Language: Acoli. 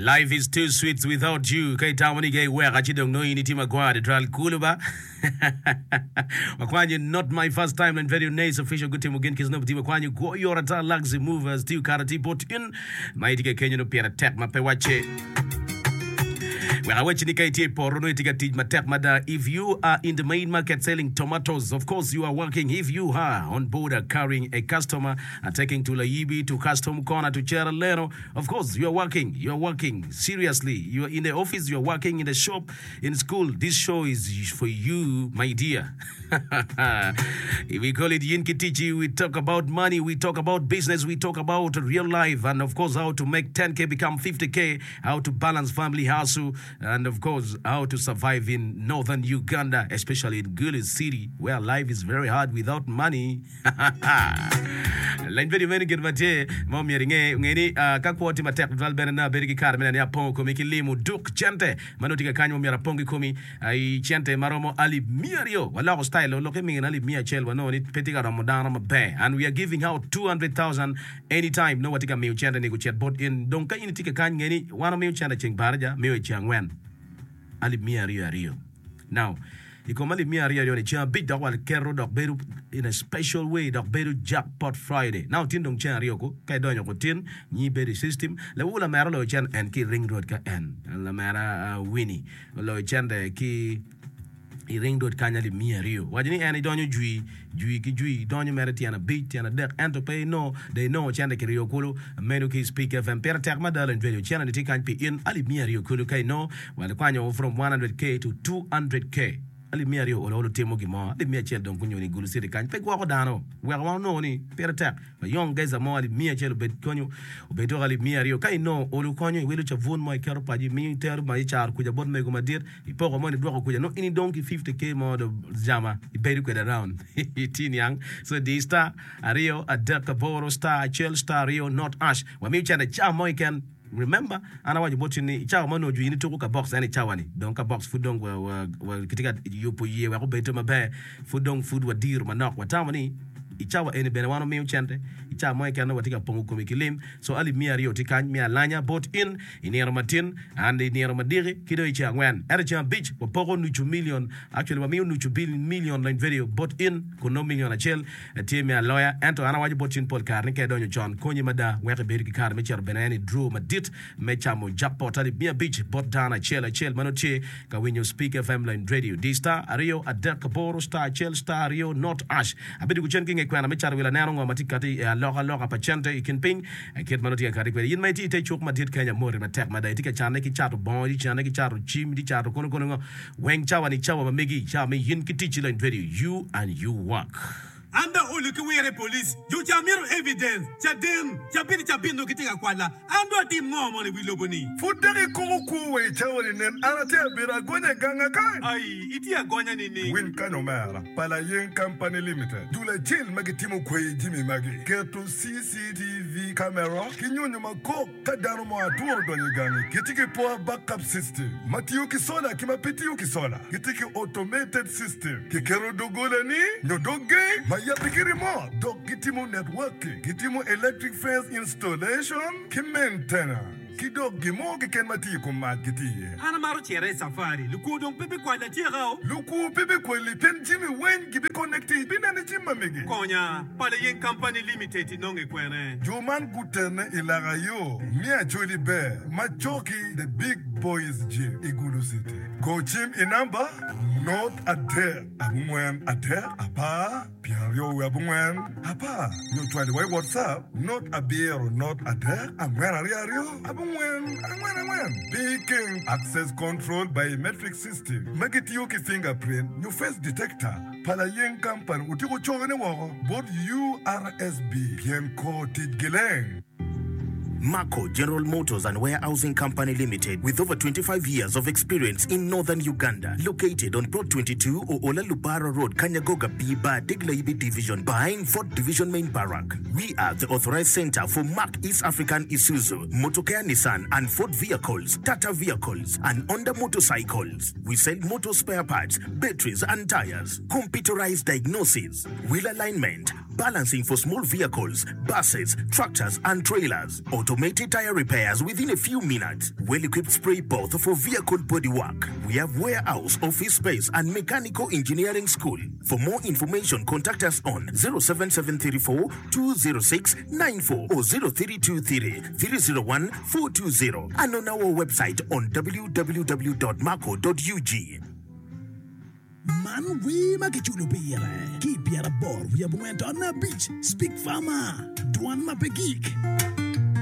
Life is too sweet without you. Ka itamo ni ka iweka ci dong nongo in itye magwar tutwal. Kulu ba. Wakwanyo not my first time and very nice official gutimo gin ki Snoop tye wakwanyo gwo yora ta Luxy Movers tye okato tye bot in ma itye ka kenyo nongo pire tek ma pe wacce. Wek awacci ni ka itye i poto nongo itye ka tic matek mada. If you are in the main market selling tomatoes, of course you are working. If you are on boda carrying a customer and taking to Layibi, to Custom Corner, to Cheraleno, Of course you are working, you are working seriously, you are in the office, you are working in the shop, in school, this show is for you my dear. we call it Yin ki Tichi, we talk about money, we talk about business, we talk about real life and of course how to make 10k become 50k, how to balance family hustle and of course how to survive in northern Uganda, especially in Gulu city where life is very hard without money. Leny bedo meno gin ma tye ma omyero inge. Nge ni ka kwo tye matek tutwal bene nongo abedo ki kare me neno ni apongo komi ki limo duk cente ma nongo tye ka kany ma omyero apong ki komi i cente ma romo alip 200. Waloko style o lokke mingine alip 100 wanongo ni pe tye ka romo dano maber and we are giving out 200,000 anytime nongo watye ka miyo cente ni gucit bot in. Dong ka in itye ka kany nge ni wan wamiyo cente ceng baraja miyo i ceng angwen alip 200 aryo. Now, i kom alip miya aryo aryo-ni, ceng abic dok waketo dok bedo in a special way dok bedo Jackpot Friday. Now, tin dong ceng aryo ku, ka idonyo ku tin, nyi bedo i system. Lawu lamera oloyo cen en ki i Ring Road ka en, lamera Winnie oloyo cente ki i Ring Road kany alip miya aryo. Waco ni en idonyo jwi, jwi ki jwi, idonyo mere tyen abic, tyen adek, ento pe inongo, dong inongo cente kiryo kulu. Meno ki i Speak FM. Pire tek mada lony radio. Cente-ni tye kany pi in alip miya aryo kulu ka inongo. Wa likwanyo from 100K to 200K. Alip miya aryo olo olo timo gin mo. Alip miya acel dong gunyoni i Gulu City kany pe gwoko dano. Weko wan onongo ni pire tek. Wayong geza mo alip miya acel obed konyo obed dok alip miya aryo. Ka inongo olo konyo iwilo cabun mo iketo paco imiyo itero ma icaro kuca bot mego madit ipoko moni idwoko kuca nongo in idong ki 50K mo do jama ibedo kwede around. Itye niang? So di star aryo adek aboro star acel star aryo not ash. Wamiyo cente ca mo keken. Remember, an awaco bot in ni i cawa ma onongo jwi in ituko ka box ento i cawa ni dong ka box pud dong kitye ka yubo iye wek obed maber pud dong pud wadiro manok watamo ni i cawa eni bene wan omiyo cente i cawa mo keken nongo watye ka pongo komi ki lim so alip miya aryo tye kany me alanya bot in i nino matin and i nino madiki ki dong i ceng angwen ento i ceng abic wapoko nucu million actually wamiyo nucu million lony video bot in kun nongo million acel Tye me aloya, ento an awaco bot cwiny pol kare ni ka idonyo con, konyi mada wek ibed ki kare me cito bene en i draw madit me camo jackpot alip 500 bot dano acel acel ma nongo tye ka winyo Speak FM Line Radio. Di star aryo adek aboro star acel star aryo not ash. Abidugo cen ki nge kwena me cato wil aneno ngo ma tye kati i aloka loka pa cente i kin piny kit ma nongo tye ka kati kwede. In ma itye i te cuk madit Kenya moti matek mada itye ka canne ki cato bongo, itye canne ki cato cim, itye cato kono kono ngo. Weng cawa ni cawa ma megi, cawa me yin ki ticci lony radio, you and you work. An dong olo ki wire i police, jo ca mito evidence, caden, cabit ki cabit nongo gitye ka kwala, an dong atim ngo mono i wi lobo ni? Pud dok ikoko kwo wa i cawa ni nen an atye abedo agonya i ganga kany. Ai, itye agonya nining? Winy kany omera, pa Layeng Company Limited, dul acel ma gitimo kweyi jimi magi, keto CCTV camera ki nyonyo ma kok. Ka dano mo atura odonyo i gangi, gitye ki power backup system ma tiyo ki sola ki ma pe tiyo ki sola. Gitye ki automated system, kiketo doggola-ni nyo dog geng ma yabbe ki remote, dok gitimo networking, gitimo electric fence installation ki maintenance, ki dok gin mo keken ma tiyo i kom mac gitye iye. An amaro cito i cafari. Lukwo dong pe bikwala atyeka o. Lukwo pe bikwali pien jami weng gibiconnecti ibineno i cim ma megi. Konya, Pala Yeng Company Limited inonge kwene? Jo man gutene i laka yo me Acholi Ber ma cok-ki The Big Boys Gym i Gulu City. Go cim i namba, not adek abongwen adek apar pyeraryo wiye abongwen apar nyo cwali wa i WhatsApp not abiro not adek angwen aryo aryo abongwen angwen angwen. Pi keng Access Control Biometric System ma gitiyo ki fingerprint nyo face detector. Pa layeng kampani otyeko cokone woko bot URSB pien kor ticgi leng. Mako General Motors and Warehousing Company Limited with over 25 years of experience in Northern Uganda located on Plot 22 Oola Lubara Road Kanyagoga B Bar Deglayibi Division behind Fort Division Main Barrack. We are the authorized center for Mack East African Isuzu, Motokea Nissan and Ford vehicles, Tata vehicles and Honda motorcycles. We sell motor spare parts, batteries and tires, computerized diagnosis, wheel alignment, balancing for small vehicles, buses, tractors and trailers, auto. Automated tire repairs within a few minutes. Well-equipped spray booth for vehicle body work. We have warehouse, office space and mechanical engineering school. For more information contact us on 07734 206 94 or 0323 301 420 and on our website on www.maco.ug. Man wer ma kiculo pire ki i pyeraboro wiye abongwen to 5 Speak Farmer, Dwan ma pe gik.